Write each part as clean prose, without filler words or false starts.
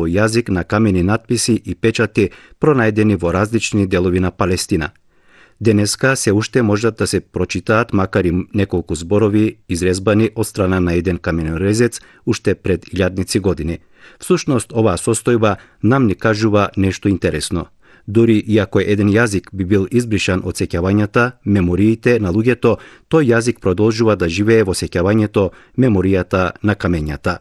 овој јазик на камени натписи и печати пронајдени во различни делови на Палестина. Денеска се уште можат да се прочитаат макар и неколку зборови изрезбани од страна на еден каменорезец уште пред илјадници години. Всушност, оваа состојба нам ни кажува нешто интересно. Дури иако еден јазик би бил избришан од сеќавањата, мемориите на луѓето, тој јазик продолжува да живее во сеќавањето, меморијата на камењата.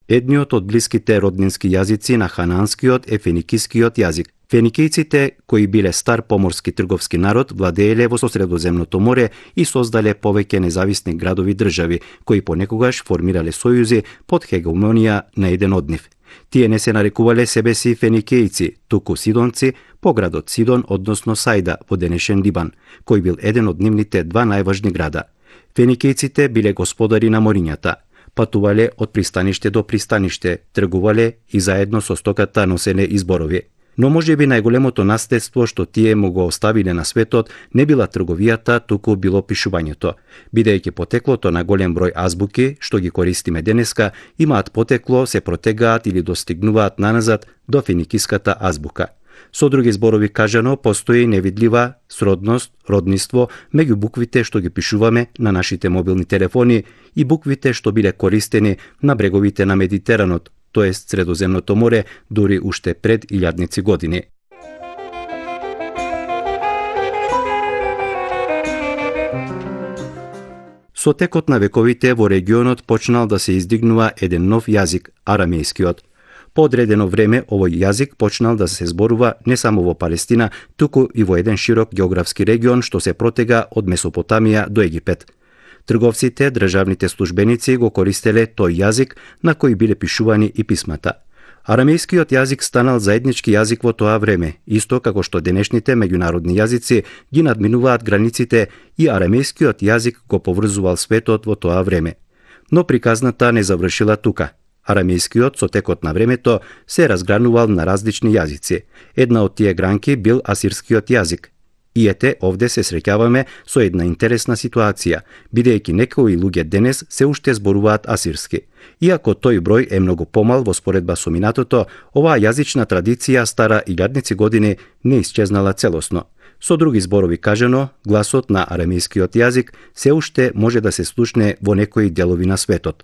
Едниот од блиските роднински јазици на хананскиот е феникискиот јазик. Феникијците, кои биле стар поморски трговски народ, владееле во Средоземното море и создале повеќе независни градови држави, кои понекогаш формирале сојузи под хегемонија на еден од нив. Тие не се нарекувале себе си феникијци, туку сидонци, по градот Сидон, односно Сајда, во денешен Либан, кој бил еден од нивните два најважни града. Феникијците биле господари на морињата, патувале од пристаниште до пристаниште, тргувале и заедно со стоката носеле изборови. Но можеби најголемото наследство што тие му го оставиле на светот не била трговијата, туку било пишувањето. Бидејќи потеклото на голем број азбуки, што ги користиме денеска, имаат потекло, се протегаат или достигнуваат наназад до феникиската азбука. Со други зборови кажано, постои невидлива сродност, родниство меѓу буквите што ги пишуваме на нашите мобилни телефони и буквите што биле користени на бреговите на Медитеранот, тоест Средоземното море, дури уште пред илјадници години. Со текот на вековите во регионот почнал да се издигнува еден нов јазик, арамејскиот. По одредено време овој јазик почнал да се зборува не само во Палестина, туку и во еден широк географски регион што се протега од Месопотамија до Египет. Трговците, државните службеници го користеле тој јазик на кој биле пишувани и писмата. Арамејскиот јазик станал заеднички јазик во тоа време, исто како што денешните меѓународни јазици ги надминуваат границите и арамејскиот јазик го поврзувал светот во тоа време. Но приказната не завршила тука. Арамејскиот со текот на времето се разгранувал на различни јазици. Една од тие гранки бил асирскиот јазик. И ете, овде се среќаваме со една интересна ситуација, бидејќи некои луѓе денес се уште зборуваат асирски. Иако тој број е многу помал во споредба со минатото, оваа јазична традиција стара илјадници години не исчезнала целосно. Со други зборови кажано, гласот на арамејскиот јазик се уште може да се слушне во некои делови на светот.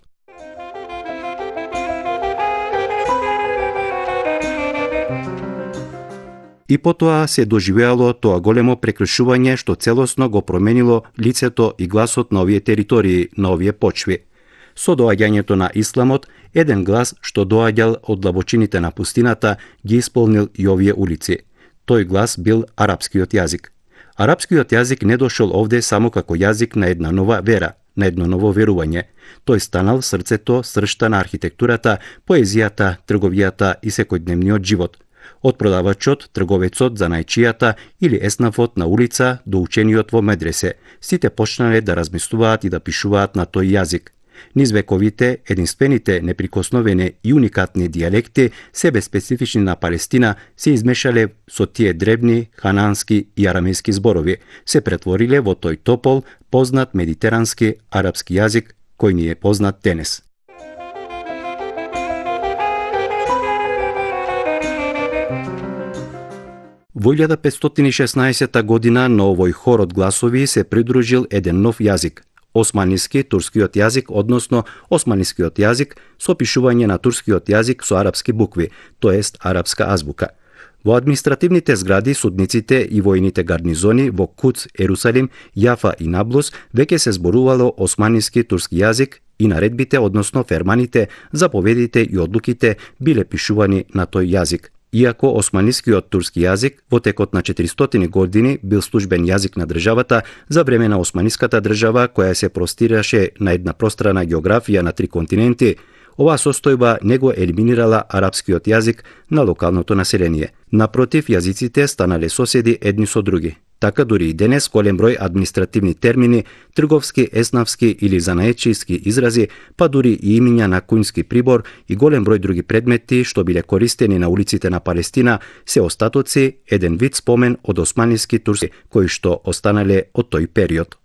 И потоа се доживеало тоа големо прекршување што целосно го променило лицето и гласот на овие територии, на овие почви. Со доаѓањето на исламот, еден глас што доаѓал од длабочините на пустината ги исполнил и овие улици. Тој глас бил арапскиот јазик. Арапскиот јазик не дошол овде само како јазик на една нова вера, на едно ново верување. Тој станал срцето, сршта на архитектурата, поезијата, трговијата и секојдневниот живот. Од продавачот, трговецот, занајчијата или еснафот на улица до учениот во медресе, сите почнале да размислуваат и да пишуваат на тој јазик. Низ вековите, единствените, неприкосновени и уникатни дијалекти, себе специфични на Палестина, се измешале со тие дребни, ханански и арамејски зборови, се претвориле во тој топол, познат медитерански арапски јазик, кој ни е познат денес. Во 1516 година на овој хор од гласови се придружил еден нов јазик, османиски турскиот јазик, односно османискиот јазик со пишување на турскиот јазик со арапски букви, тоест арапска азбука. Во административните згради, судниците и војните гарнизони во Куц, Ерусалим, Јафа и Наблус веќе се зборувало османиски турски јазик и наредбите, односно ферманите, заповедите и одлуките биле пишувани на тој јазик. Иако османискиот турски јазик во текот на 400 години бил службен јазик на државата за време на османиската држава која се простираше на една пространа географија на 3 континенти, оваа состојба не го елиминирала арапскиот јазик на локалното население. Напротив, јазиците станале соседи едни со други. Така дури и денес голем број административни термини, трговски, еснавски или занаечиски изрази, па дури и имиња на куњски прибор и голем број други предмети што биле користени на улиците на Палестина се остатоци, еден вид спомен од османиски турски кои што останале од тој период.